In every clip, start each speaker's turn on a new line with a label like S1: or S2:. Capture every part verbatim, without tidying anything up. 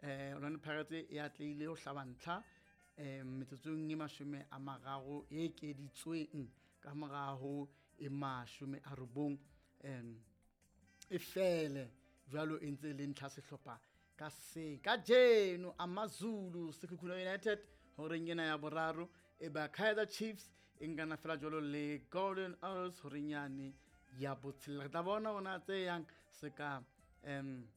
S1: eh Orlando Pirates e atlehile ho hlaba ntlha eh metsotsong e mashome a mararo e ekeditsweng ka moraho e mashome a robong em e fele jwalo e ntse le ntlha sehlopha ka se kajeno AmaZulu Sekhukhune United horeng ena ya boraro e ba Kaizer Chiefs e nkana fela jwalo le Golden Arrows horeng yane ya botshelela. Re tla bona ona tse yang se ka em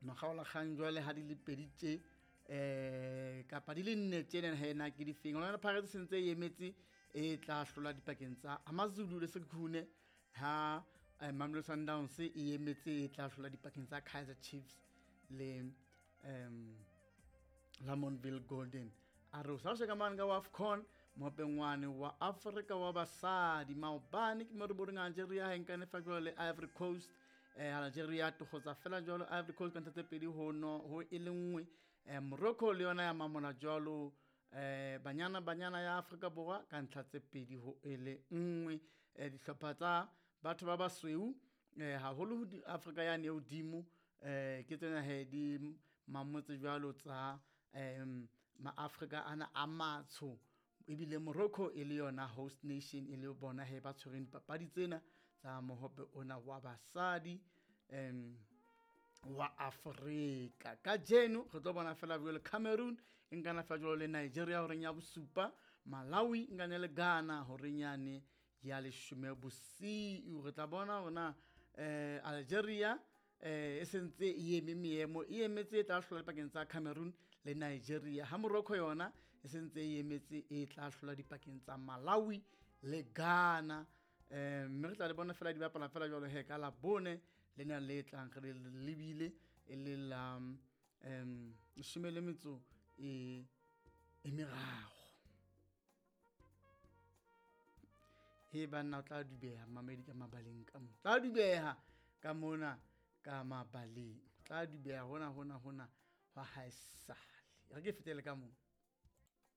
S1: makgaolakgang jwale ha di le pedi tje eh kapa di le nne tjena he na ke difeng. Orlando Pirates se ntse e emetse e tla hlola dipakeng tsa AmaZulu le Sekhukhune ha eh, Mamelodi Sundowns e emetse e tla hlola dipakeng tsa Kaizer Chiefs le um Lamontville Golden Arrows. Ha o sheka mane ka AFCON mohopengwane wa Afrika wa basadi maobane ke mo re boneng Algeria ha e nkane fa jwalo le Ivory Coast. Eh, Algeria tokgotsa fela jwalo Ivory Coast ka ntlha tse pedi ho no ho e le nngwe. Eh, Morocco le yona ya mamola jwalo eh Banyana Banyana ya Afrika Borwa ka ntlha tse pedi ho e le nngwe. Eh, dihlopha tsa batho ba basweu eh haholo ho di Afrika yane e hodimo eh ke tsena he di mamotse jwalo tsa em maAfrika ana a matsho, ebile Morocco e le yona host nation e le bona he ba tshwereng dipapadi tsena tsa mohope ona wa basadi em wa Afrika. Kajeno re tlo bona fela jwalo Cameroon e nkana fela jwalo le Nigeria horeng ya bosupa, Malawi e nkane le Ghana horeng yane ya leshome bosiu. Re tla bona hore na eh Algeria eh e sentse e eme meemo e emetse e tla hlola dipakeng tsa Cameroon le Nigeria, ha Morocco yona e sentse e emetse e tla hlola dipakeng tsa Malawi le Ghana. Eh mme re tla le bona fela di bapala fela jwalo he ka Labone lena le tlang re le lebile e le la em leshome le metso e e meraro. He banna o tla dubeha mamedi ka mabaleng ka mo tla dubeha ka mona ka mabaleng, tla dubeha hona hona hona hwa haesale. Re ke fetele ka mo.